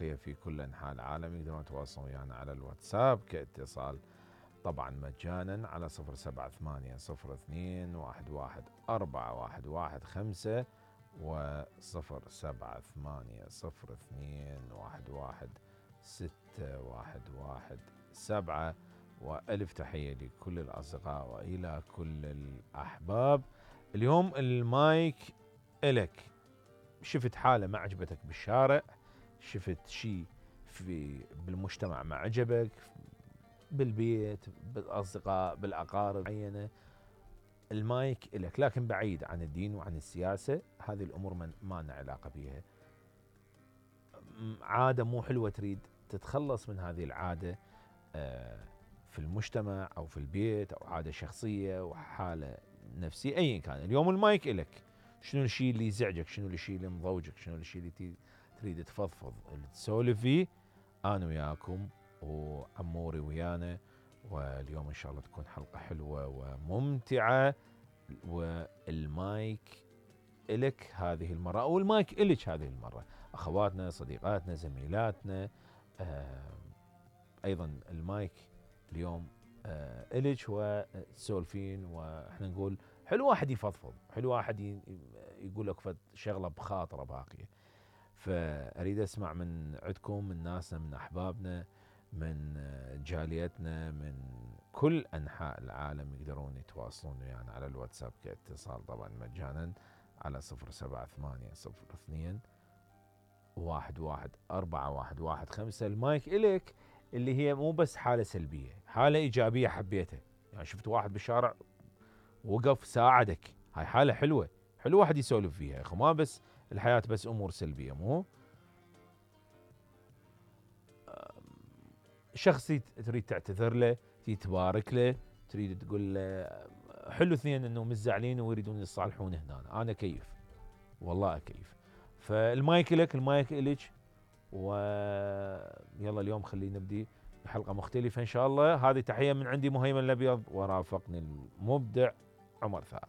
الباقية في كل أنحاء العالم يقدرون يتواصلون ويانا على الواتساب كاتصال طبعا مجانا على 07802111415 و 07802116117. وألف تحية لكل الأصدقاء وإلى كل الأحباب. اليوم المايك إلك. شفت حالة ما عجبتك بالشارع، شفت شيء بالمجتمع ما عجبك، بالبيت، بالأصدقاء، بالأقارب معينة، المايك إلك، لكن بعيد عن الدين وعن السياسة. هذه الأمور ما لنا علاقة بها. عادة مو حلوة تريد تتخلص من هذه العادة في المجتمع أو في البيت، أو عادة شخصية وحالة نفسية أيا كان. اليوم المايك إلك. شنو الشيء اللي يزعجك؟ شنو الشيء اللي مضوجك؟ شنو الشيء اللي تريد تفضفض تسولف فيه؟ أنا وياكم وعموري ويانا، واليوم إن شاء الله تكون حلقة حلوة وممتعة. والمايك إلك هذه المرة، أو المايك إلك هذه المرة، أخواتنا، صديقاتنا، زميلاتنا. أيضا المايك اليوم إلك وتسولفين، وإحنا نقول حلو واحد يفضفض، حلو واحد يقول لك فد شغلة بخاطره باقية. فأريد أسمع من عندكم، من ناسنا، من أحبابنا، من جاليتنا، من كل أنحاء العالم يقدرون يتواصلون ويانا على الواتساب كاتصال طبعا مجانا على 07802111415. المايك إليك اللي هي مو بس حالة سلبية، حالة إيجابية حبيتها. يعني شفت واحد بالشارع وقف ساعدك، هاي حالة حلوة، حلو واحد يسولف فيها. أخو ما بس الحياة بس أمور سلبية، مو شخص تريد تعتذر له، تريد تبارك له، تريد تقول له حلو اثنين انه مزعلين ويريدون يصالحون هنا. انا كيف، والله اكيف. فالمايك لك، المايك الك. ويلا اليوم خلينا نبدي بحلقة مختلفة ان شاء الله. هذه تحية من عندي مهيمن الابيض، ورافقني المبدع عمر ثار.